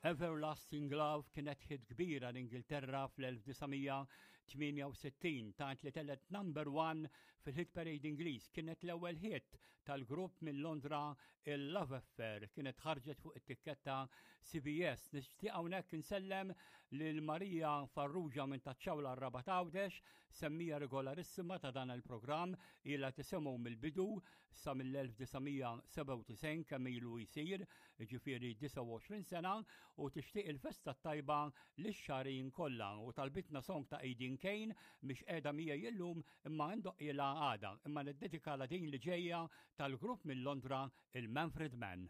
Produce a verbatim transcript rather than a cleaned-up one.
Everlasting Love kienet hit kbira l-Ingilterra fl-elf disa' mija tmienja u sittin, tant li telgħet number one fil-hit parade Ingliż. Kienet l-ewwel hit tal-grupp minn Londra, il-Love Affair, kienet ħarġet fuq it-tikketta C B S. Nixtieq hawnhekk insellem lil Marija Farrugia minn Taċ-Ċawla r-Rabat Għawdex, semmija regolarissima ta' dan il-programm, ilha tisimgħu mill-bidu sa mill-elf disa' mija sebgħa u disgħin kemm ilu jsir, jiġifieri disgħa u għoxrin sena, u tixtieq il-festa tajba lix-xarin kollha u talbitna song ta' Aideen Kane mhix qiegħda miegħi illum imma ndoqqilha għada, imma niddedikala din li ġejja tal-grupp minn Londra, il-Manfred Mann.